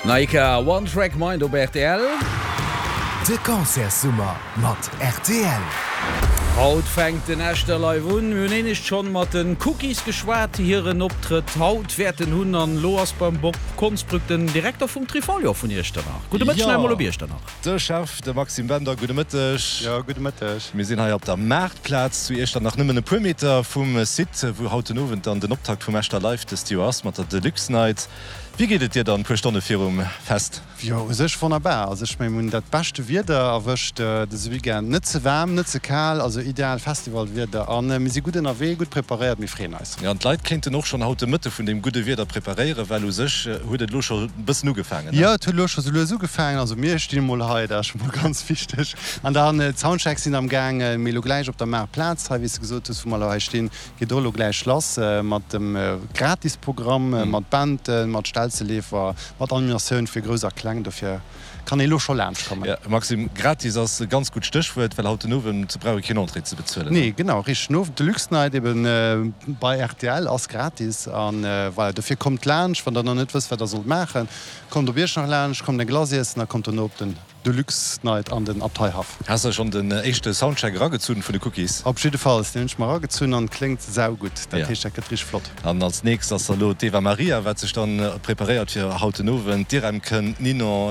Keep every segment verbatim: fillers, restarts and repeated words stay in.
Naika, One Track Mind op rtl. De Concertssummer mat rtl. Haut fänkt den Echter Live un. Mir hunn éinescht schonn mat den Cookies geschwat, déi hiren Optrëtt haut wäerten hunn. An elo ass beim Bob Konsbrück den Direkter vum Trifolion vun Iechternach. Gudde Mëtteg nach emol op Iechternach. De Chef, de Maxime Bender, gudde Mëtteg. Jo, gudde Mëtteg. Mir sinn hei op der Maartplaz zu Iechternach, nëmmen e puer Meter vum Site, wou haut den Owend dann den Optakt vum Echter Live dëst Joer ass, mat der Deluxe Night. Wéi geet et dir dann, puer Stonne virum Fest? Jo, u sech wonnerbar. Also ech mengen, mir hunn dat beschte Wieder erwëscht dëse Weekend. Net ze waarm, net ze kal, also ideal Festivalwieder. A mir si gutt ënnerwee, gutt preparéiert, mir freeën eis. Jo, an d'Leit kéinten och schonn haut de Mëtte vun deem gudde Wieder preparéieren, well u sech huet et elo scho e bëssen ugefaangen, ne? Jo, et huet elo scho sou lues ugefaangen. Also mir stinn emol hei, dat ass scho mol ganz wichteg. An dann d'Soundchecks sinn am gaangen, mee elo gläich op der Maartplaz hei, wéi s de gesot hues, wou mer elo hei stinn, Geet och elo gläich lass mat dem Gratisprogramm, mat Banden, mat Stelzeleefer, mat Animatioun fir Grouss a Kleng. Dofir kann ee elo scho laanscht kommen. Jo, Maxime, gratis ass e ganz gutt Stéchwuert, well haut den Owend brauch ee keen Entrée ze bezuelen. Nee, genau, richteg. Den Owend Deluxe Night eben bei rtl ass gratis. An voilà, dofir kommt laanscht, wann der nach net wësst, wat der sollt maachen. Kommt op Iechternach laanscht, kommt eng Glace iessen a kommt dono op den. Deluxe Night an den Abteihaff. Has de schon den éischte Soundcheck eragezunn vun de Cookies? Op jiddefalls, deen hunn ech mer eragezunn an kléngt saugutt. Dat heescht dat gëtt richteg flott. An als nächst ass da lo d'Eva Maria wat sech dann preparéiert fir haut den Owend. D'Irem kënnt, d'Ninon.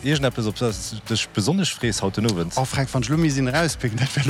Iergendeppes op dat s de dech besonnesch frees haut den Owend? Oh Fränk, wann ech lo misst een erauspicken, dat wär lo.